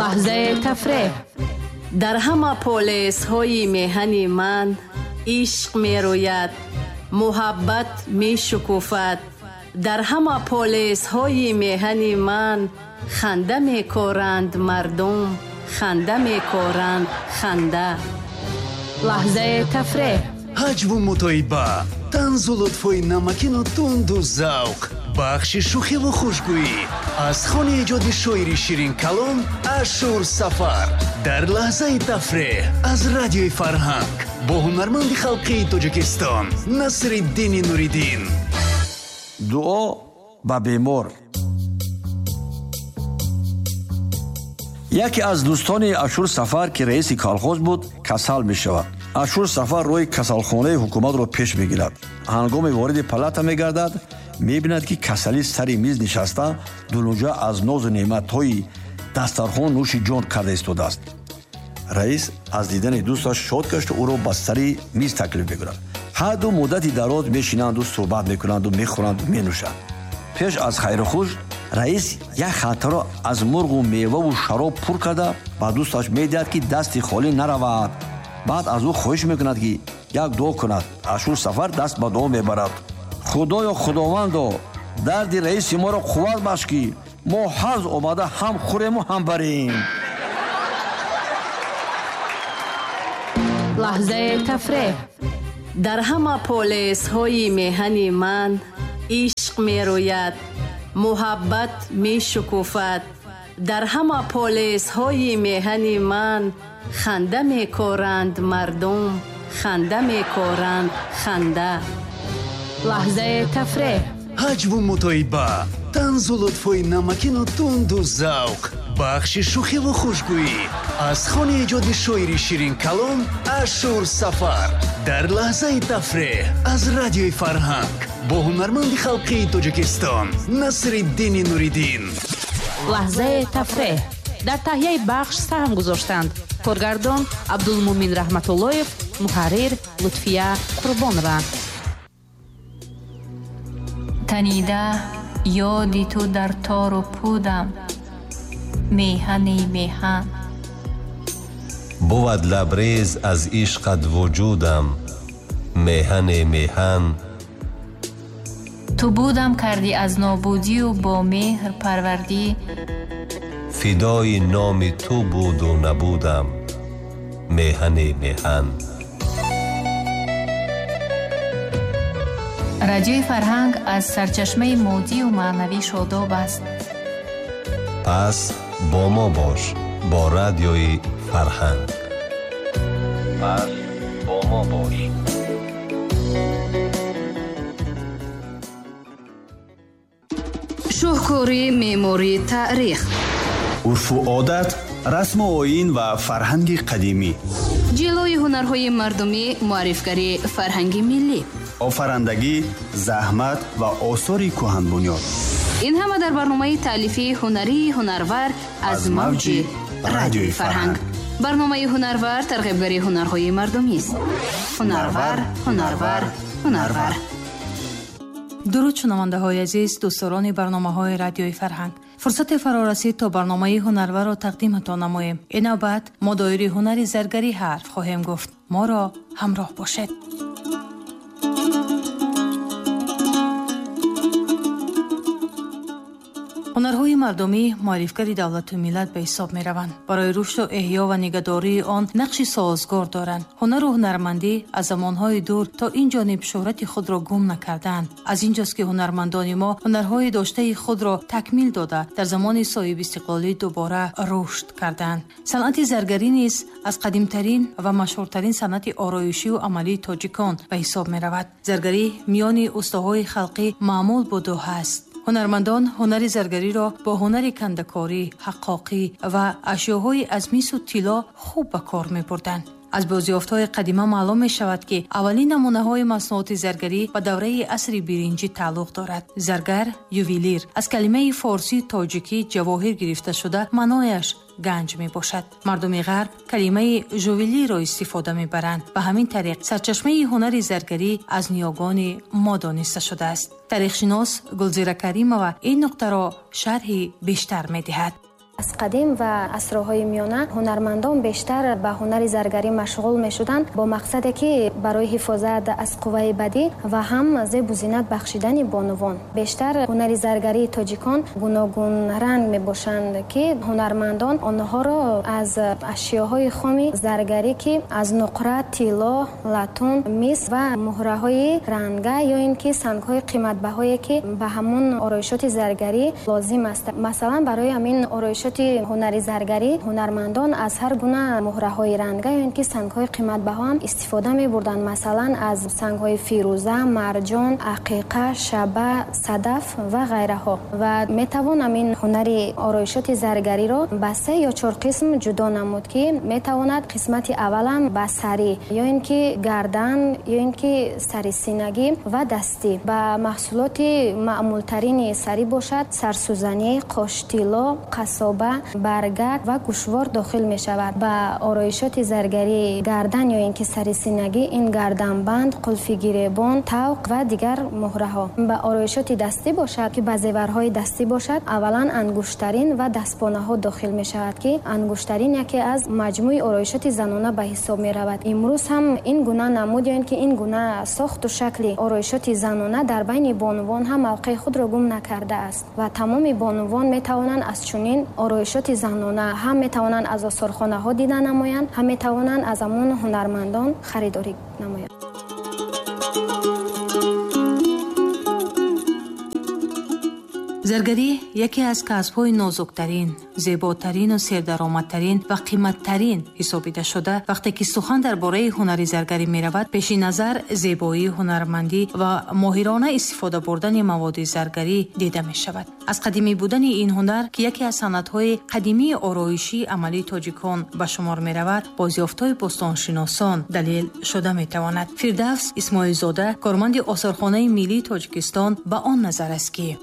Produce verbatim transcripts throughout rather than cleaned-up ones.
Лаҳзаи тафреҳ. Дар ҳама полисҳои меҳани ман ишқ мерӯяд, муҳаббат мешукуфад. Дар ҳама полисҳои меҳани ман ханда мекоранд мардум, ханда мекоранд ханда. Лаҳзаи тафреҳ. Ҳаҷву мутоиба, танзу лутфои намакину тунду завқ, бахши шӯхиву хушгӯӣ аз хони эҷоди шоири ширинкалом Ашур Сафар дар лаҳзаи тафреҳ аз радиои Фарҳанг бо ҳунарманди халқии Тоҷикистон Насриддини Нуриддин. Дуо ба бемор. Яке аз дӯстони Ашур Сафар, ки раиси колхоз буд, касал мешавад. Ашур Сафар рӯи касалхонаи ҳукуматро пеш мегирад. Ҳангоми вориди палата мегардад, мебинад, ки касалӣ сари миз нишаста, дунуҷа аз нозу неъматҳои дастархон нӯши ҷон карда истодааст. Раис аз дидани дӯсташ шод гашту ӯро ба сари миз таклиф мекунад. Ҳар ду муддати дароз мешинанду суҳбат мекунанду мехӯранду менӯшанд. Пеш аз хайрухуш раис як халтаро аз мурғу меваву шароб пур карда ба дӯсташ медиҳад, ки дасти холӣ наравад. Баъд аз ӯ хоҳиш мекунад, ки як дуо кунад. Ашур Сафар даст ба дуо мебарад. Худоё Худовандо, дарди раиси моро қувват бахш, ки мо ҳарз омада ҳам хӯрему ҳам барем. Лаҳзаи тафреҳ. Дар ҳама полисҳои меҳани ман ишқ мерӯяд, муҳаббат мешукуфад. Дар ҳама полисҳои меҳани ман ханда мекоранд мардум, ханда мекоранд ханда. Лаҳзаи тафреҳ. Ҳаҷву мутоиба, танзу лутфои намакину тунду завқ, бахши шӯхиву хушгӯӣ аз хони эҷоди шоири ширинкалом Ашур Сафар дар лаҳзаи тафреҳ аз радиои Фарҳанг бо ҳунарманди халқии Тоҷикистон Насриддини Нуриддин. Лаҳзаи тафреҳ. Дар таҳияи бахш саҳм гузоштанд коргардон Абдулмумин Раҳматуллоев, муҳаррир Лутфия Қурбонова. Танида ёди ту дар тору пудам, меҳани меҳан. Бувад лабрез аз ишқат вуҷудам, меҳани меҳан. Ту будам кардӣ аз нобудию бо меҳр парвардӣ, фидои номи ту буду набудам, меҳани меҳан. Радиои Фарҳанг аз сарчашмаи моддию маънавӣ шодоб аст. Пас бо мо бош, бо радиои Фарҳанг. Пас бо мо бош. Шоҳкори меъмории таърих, урфу одат, расму оин ва фарҳанги қадимӣ, ҷилои ҳунарҳои мардумӣ, муаррифгарии фарҳанги миллӣ, офарандагӣ, заҳмат ва осори кӯҳанбунёд. Ин ҳама дар барномаи таълифии ҳунарии Ҳунарвар аз мавҷи радиои Фарҳанг. Барномаи Ҳунарвар тарғибгари ҳунарҳои мардумист. Ҳунарвар, ҳунарвар, ҳунарвар. Дуруд шунавандаҳои азиз, дӯстдорони барномаҳои радиои Фарҳанг. Фурсате фаро расид то барномаи Ҳунарварро тақдиматон намоем. Ин навбат мо доири ҳунари заргарӣ ҳарф хоҳем гуфт. Моро ҳамроҳ бошед. Ҳунарҳои мардумӣ муаррифгари давлату миллат ба ҳисоб мераванд. Барои рушду эҳё ва нигаҳдории он нақши созгор доранд. Ҳунару ҳунармандӣ аз замонҳои дур то ин ҷониб шӯҳрати худро гум накардаанд. Аз инҷост ки ҳунармандони мо ҳунарҳои доштаи худро такмил дода, дар замони соҳибистиқлолӣ дубора рушд карданд. Санъати заргарӣ низ аз қадимтарин ва машҳуртарин санъати ороишию амалии тоҷикон ба ҳисоб меравад. Заргарӣ миёни устоҳои халқӣ маъмул буду ҳаст. Ҳунармандон ҳунари заргариро бо ҳунари кандакорӣ, ҳаққоқӣ ва ашёҳои аз мису тилло хуб ба кор мебурданд. Аз бозёфтҳои қадима маълум мешавад, ки аввалин намунаҳои маснуоти заргарӣ ба давраи асри биринҷӣ тааллуқ дорад. Заргар, ювелир аз калимаи форсии тоҷикӣ ҷавоҳир гирифта шуда, маънояш ганҷ мебошад. Мардуми ғарб калимаи жувелиро истифода мебаранд. Ба ҳамин тариқ сарчашмаи ҳунари заргарӣ аз ниёгони мо дониста шудааст. Таърихшинос Гулзира Каримова ин нуқтаро шарҳи бештар медиҳад. Аз қадим ва асрҳои миёна ҳунармандон бештар ба ҳунари заргарӣ машғул мешуданд бо мақсаде ки барои ҳифозат аз қувваи бадӣ ва ҳам зебу зинат бахшидани бонувон. Бештар ҳунари заргарии тоҷикон гуногун ранг мебошанд, ки ҳунармандон онҳоро аз ашёҳои хоми заргарӣ, ки аз нуқра, тилло, латун, мис ва муҳраҳои ранга ё ин ки сангҳои қиматбаҳое ки ба ҳамон ороишоти заргарӣ лозим аст. Масалан, барои ҳамин ороишоти ҳунари заргарӣ ҳунармандон аз ҳар гуна муҳраҳои ранга ё ин ки сангҳои қиматбаҳо ҳам истифода мебурданд. Масалан, аз сангҳои фирӯза, марҷон, ақиқа, шаба, садаф ва ғайраҳо. Ва метавон ҳамин ҳунари ороишоти заргариро ба се ё чор қисм ҷудо намуд, ки метавонад қисмати аввалам ба сарӣ ё ин ки гардан ё ин ки сари синагӣ ва дастӣ. Ба маҳсулоти маъмултарини сарӣ бошад сарсӯзанӣ, қоштило, қасоба, баргак ва гӯшвор дохил мешавад. Ба ороишоти заргарии гардан ё ин ки сари синагӣ ин гарданбанд, қулфи гиребон, тавқ ва дигар муҳраҳо. Ба ороишоти дастӣ бошад, ки ба зеварҳои дастӣ бошад, аввалан ангуштарин ва дастпонаҳо дохил мешавад, ки ангуштарин яке аз маҷмӯи ороишоти занона ба ҳисоб меравад. Имрӯз ҳам ин гуна намуд ё ин ки ин гуна сохту шакли ороишоти занона дар байни бонувон ҳам мавқеи худро гум накардааст ва тамоми бонувон метавонанд аз чунин ороишоти занона ҳам метавонанд аз осорхонаҳо дида намоянд, ҳам метавонанд аз ҳамон ҳунармандон харидорӣ намоянд. Заргарӣ яке аз касбҳои нозуктарин, зеботарину сердаромадтарин ва қиматтарин ҳисобида шуда, вақте ки сухан дар бораи ҳунари заргарӣ меравад, пеши назар зебоии ҳунармандӣ ва моҳирона истифода бурдани маводи заргарӣ дида мешавад. Аз қадимӣ будани ин ҳунар, ки яке аз санъатҳои қадимии ороишии амалии тоҷикон ба шумор меравад, бозёфтҳои бостоншиносон далел шуда метавонад. Фирдавс Исмоилзода, корманди осорхонаи миллии Тоҷикистон, ба он назар аст, ки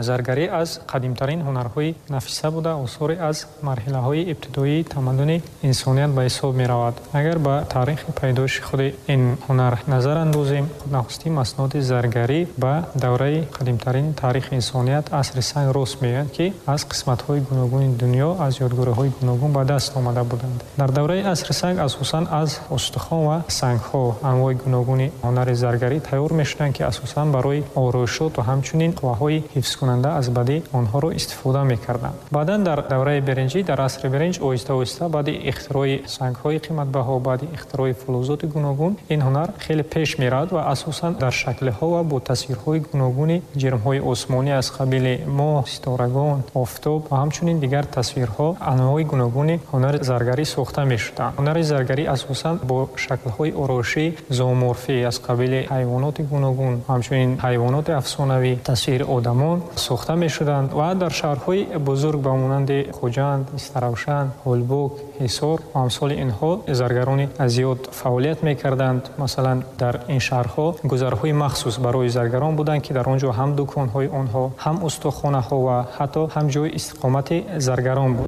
заргарӣ аз қадимтарин ҳунарҳои нафиса буда, осори аз марҳилаҳои ибтидоии тамаддуни инсоният ба ҳисоб меравад. Агар ба таърихи пайдоиши худи ин ҳунар назар андозем, нахустин масноди заргарӣ ба давраи қадимтарин таърихи инсоният, асри санг рост меояд, ки аз қисматҳои гуногуни дунё, аз ёдгориҳои гуногун ба даст омада буданд. Дар давраи асри санг асосан аз устухон ва сангҳо анвои гуногуни ҳунари заргарӣ тайёр мешуданд, ки асосан барои ороишот ва ҳамчунин қувваҳои ҳифзкунанда аз бадӣ онҳоро истифода мекарданд. Баъдан дар давраи беринҷӣ, дар асри беринҷ, оҳиста оҳиста баъди ихтирои сангҳои қиматбаҳо, баъди ихтирои фулузоти гуногун, ин ҳунар хеле пеш меравад ва асосан дар шаклҳо ва бо тасвирҳои гуногуни ҷирмҳои осмонӣ аз қабили моҳ, ситорагон, офтоб ва ҳамчунин дигар тасвирҳо анвои гуногуни ҳунари заргарӣ сохта мешуданд. Ҳунари заргарӣ асосан бо шаклҳои ороишӣ зооморфӣ аз қабили ҳайвоноти гуногун, ҳамчунин ҳайвоноти афсонавӣ, тасвири одамон сохта мешуданд ва дар шаҳрҳои бузург ба монанди Хуҷанд, Истаравшан, Ҳулбук, Ҳисор ва амсоли инҳо заргарони зиёд фаъолият мекарданд. Масалан, дар ин шаҳрҳо гузарҳои махсус барои заргарон буданд, ки дар он ҷо ҳам дуконҳои онҳо, ҳам устохонаҳо ва ҳатто ҳам ҷои истиқомати заргарон буд.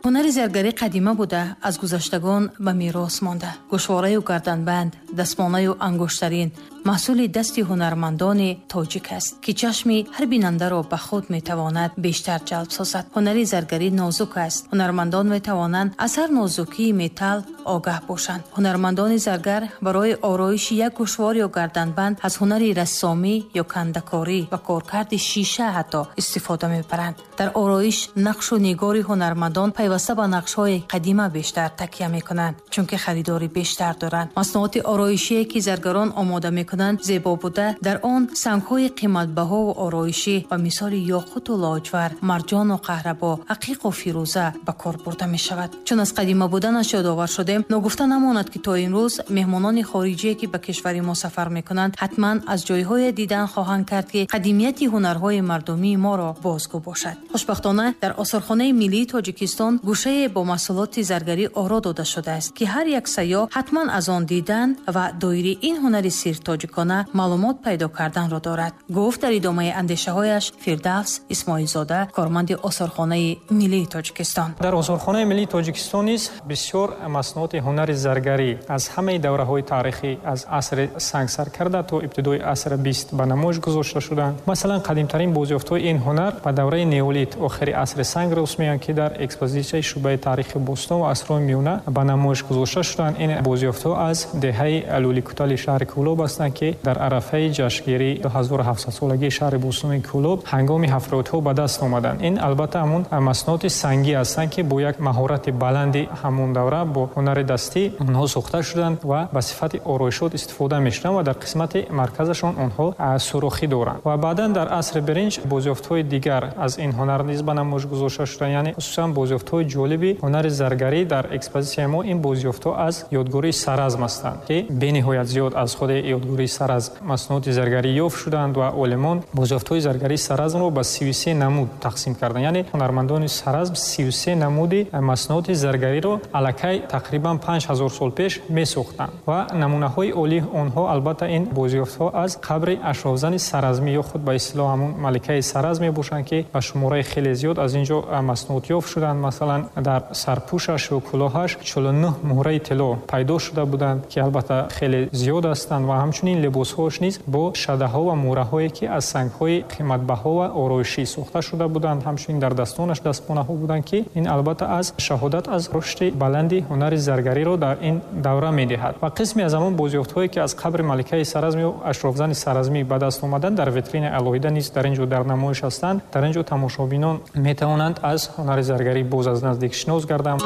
Ҳунари заргарӣ қадима буда, аз гузаштагон ба мерос монда. Гӯшвораю гарданбанд, дастмонаю ангуштарин маҳсули дасти ҳунармандони тоҷик аст, ки чашми ҳар бинандаро ба худ метавонад бештар ҷалб созад. Ҳунари заргарӣ нозук аст. Ҳунармандон метавонанд аз ҳар нозукии металл огаҳ бошанд. Ҳунармандони заргар барои ороиши як гӯшвор ё гарданбанд аз ҳунари рассомӣ ё кандакорӣ ва коркарди шиша ҳатто истифода мебаранд. Дар ороиш нақшу нигори ҳунармандон пайваста ба нақшҳои қадима бештар такя мекунанд, чунки харидори бештар доранд. Маснуоти ороишие ки заргарон омода мекунанд зебо буда, дар он сангҳои қиматбаҳову ороишӣ ба мисоли ёқуту лоҷвар, марҷону қаҳрабо, ақиқу фирӯза ба кор бурда мешавад. Чун аз қадима буданаш ёдовар шудем, ногуфта намонад, ки то имрӯз меҳмонони хориҷие, ки ба кишвари мо сафар мекунанд, ҳатман аз ҷойҳое дидан хоҳанд кард, ки қадимияти ҳунарҳои мардумии моро бозгӯ бошад. Хушбахтона, дар осорхонаи миллии Тоҷикистон гӯшае бо маҳсулоти заргарӣ оро дода шудааст, ки ҳар як сайёҳ ҳатман аз он дидан ва доираи ин ҳунари сиртоҷик тоҷикона маълумот пайдо карданро дорад, гуфт дар идомаи андешаҳояш Фирдавс Исмоилзода, корманди Осорхонаи миллии Тоҷикистон. Дар Осорхонаи миллии Тоҷикистон низ бисёр маснуоти ҳунари заргарӣ аз ҳамаи давраҳои таърихӣ аз асри санг сар карда то ибтидои асри бист ба намоиш гузошта шуданд. Масалан, қадимтарин бозёфтҳои ин ҳунар ба давраи неолит, охири асри санг рост меоянд, ки дар экспозитсияи шӯъбаи таърихи бостон ва асрҳои миёна ба намоиш гузошта шуданд. Ин бозёфтҳо аз деҳаи Лӯликутали шаҳри Кӯлоб ҳастанд, ки дар арафаи ҷашнгирии ду ҳазору ҳафтсадсолагии шаҳри бостони Кӯлоб ҳангоми ҳафротҳо ба даст омаданд. Ин албатта ҳамон маснуоти сангӣ ҳастанд, ки бо як маҳорати баланди ҳамон давра бо ҳунари дастӣ онҳо сохта шуданд ва ба сифати ороишот истифода мешуданд ва дар қисмати марказашон онҳо сурохӣ доранд. Ва баъдан дар асри биринҷ бозёфтҳои дигар аз ин ҳунар низ ба намоиш гузошта шуданд, яъне хусусан бозёфтҳои ҷолиби ҳунари заргарӣ дар экспозитсияи мо ин бозёфтҳо аз ёдгории Саразм ҳастанд, ки бениҳоят зиёд аз худи ёдгории Саразм маснуоти заргарӣ ёфт шуданд ва олимон бозёфтҳои заргарии Саразмро ба сию се намуд тақсим карданд. Яъне ҳунармандони Саразм сию се намуди маснуоти заргариро аллакай тақрибан панҷ ҳазор сол пеш месохтанд ва намунаҳои олии онҳо албатта ин бозёфтҳо аз қабри ашрофзани Саразмӣ ё худ ба истилоҳ ҳамон маликаи Саразм мебошанд, ки ба шумораи хеле зиёд аз ин ҷо маснуот ёфт шуданд. Масалан, дар сарпӯшаш ё кулоҳаш чилу нӯҳ муҳраи тилло пайдо шуда буданд, ки албатта хеле зиёд ҳастанд ва ҳамчунин либосҳояш низ бо шадаҳо ва муҳраҳое, ки аз сангҳои қиматбаҳо ва ороишӣ сохта шуда буданд. Ҳамчунин дар дастонаш дастпонаҳо буданд, ки ин албатта аз шаҳодат аз рушди баланди ҳунари заргариро дар ин давра медиҳад. Ва қисме аз ҳамон бозёфтҳое, ки аз қабри маликаи Саразм ё ашрофзани Саразмӣ ба даст омаданд, дар витринаи алоҳида низ дар ин ҷо дар намоиш ҳастанд. Дар ин ҷо тамошобинон метавонанд аз ҳунари заргарӣ боз аз наздик шинос гарданд.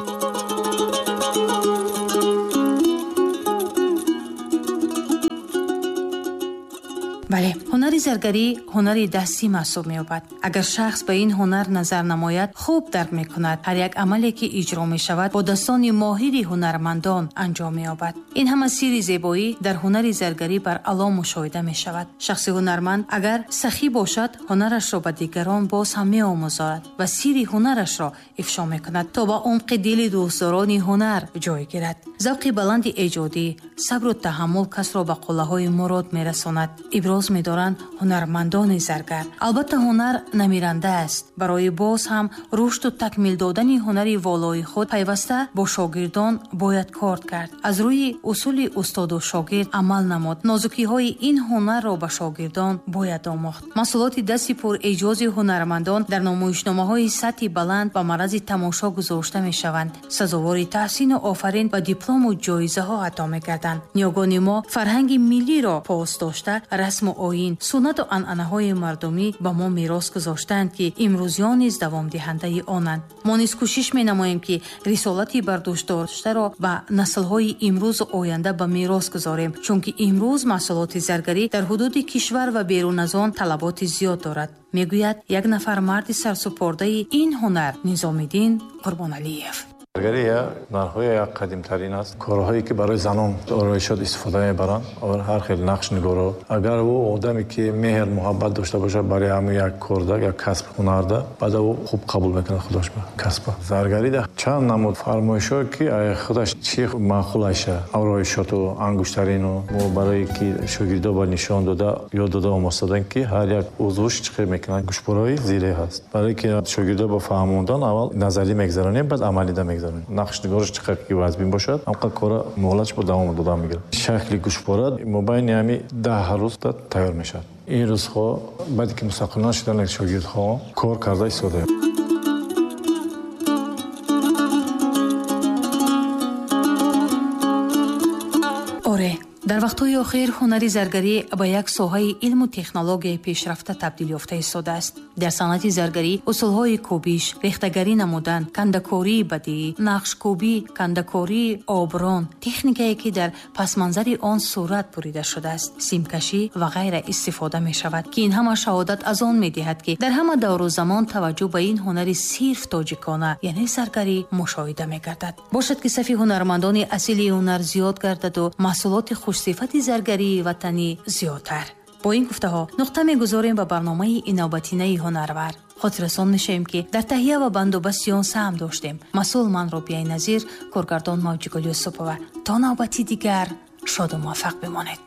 Бале, ҳунари заргарӣ ҳунари дастӣ маҳсуб меёбад. Агар шахс ба ин ҳунар назар намояд, хуб дарк мекунад. Ҳар як амале, ки иҷро мешавад, бо дастони моҳири ҳунармандон анҷом меёбад. Ин ҳама сирри зебоӣ дар ҳунари заргарӣ бар аъло мушоҳида мешавад. Шахси ҳунарманд агар сахӣ бошад, ҳунарашро ба дигарон боз ҳам меомӯзонад ва сирри ҳунарашро ифшо мекунад, то ба умқи дили дӯстдорони ҳунар ҷой гирад. Завқи баланди эҷодӣ, сабру таҳаммул касро ба қуллаҳои мурод мерасонад. Иброз медоранд ҳунармандони заргар. Албатта ҳунар намиранда аст. Барои боз ҳам рушду такмил додани ҳунари волои худ пайваста бо шогирдон бояд кор кард. Аз рӯи усули устоду шогирд амал намуд. Нозукиҳои ин ҳунарро ба шогирдон бояд омӯхт. Маҳсулоти дасти пурэҷози ҳунармандон дар намоишномаҳои сатҳи баланд ба маррази тамошо гузошта мешаванд. Сазовори таҳсину офарин ба диплому ҷоизаҳо ато мекарданд. Ниёгони мо фарҳанги миллиро пос дошта, расму оин, суннату анъанаҳои мардумӣ ба мо мерос гузоштаанд, ки имрӯзиён низ давомдиҳандаи онанд. Мо низ кӯшиш менамоем, ки рисолати бардӯшдоштаро ба наслҳои имрӯзу оянда ба мерос гузорем, чунки имрӯз маҳсулоти заргарӣ дар ҳудуди кишвар ва берун аз он талаботи зиёд дорад, мегӯяд як нафар марди сарсупордаи ин ҳунар Низомиддин Қурбоналиев. Заргарӣ ҳунарҳои як қадимтарин аст. Корҳое ки барои занон ороишот истифода мебаранд, ҳар хел нақшнигоро. Агар ӯ одаме ки меҳр муҳаббат дошта бошад барои ҳамин як корда, як касб ҳунарда, баъд ӯ хуб қабул мекунад худаш ба касба. Заргарида чанд намуд фармоишҳо ки худаш чӣ маъқул аша, ороишоту ангуштарину мо барое ки шогирдо ба нишон дода, ёд дода омӯхтадан ки ҳар як узвш чӣ хел мекунанд. Гӯшпораҳои зиреҳ ҳаст. Барое ки шогирдо ба фаҳмондан аввал назарӣ мегзаронем, баъд амалида мегзаронем. Нақшнигораш чӣ қадр ки вазбин бошад, ҳамқадр кора муҳлатш бо давом дода мегирад. Шакли гӯшпора мобайни ҳами даҳ рӯз тайёр мешавад. Ин рӯзҳо баъде ки мустақилона шуданд шогирдҳо кор карда истодаем. Оре, дар вақтҳои охир ҳунари заргарӣ ба як соҳаи илму технологияи пешрафта табдил ёфта истодааст. Дар санъати заргарӣ усулҳои кӯбиш, рехтагарӣ намудан, кандакории бадиӣ, нақшкӯбӣ, кандакории оброн, техникае ки дар пасманзари он сурат бурида шудааст, симкашӣ ва ғайра истифода мешавад, ки ин ҳама шаҳодат аз он медиҳад, ки дар ҳама давру замон таваҷҷӯҳ ба ин ҳунари сирф тоҷикона, яъне заргарӣ, мушоҳида мегардад. Бошад, ки сафи ҳунармандони асили ҳунар зиёд гардаду маҳсулоти хушсифати заргарии ватанӣ зиёдтар. Бо ин гуфтаҳо нуқта мегузорем ба барномаи инобатинаи ҳунарвар. Хотиррасон мешавем, ки дар таҳия ва бандубасти он саҳм доштем. Масъул ман Робияи Назир, коргардон Мавҷигул Юсупова. То навбати дигар шоду муваффақ бимонед.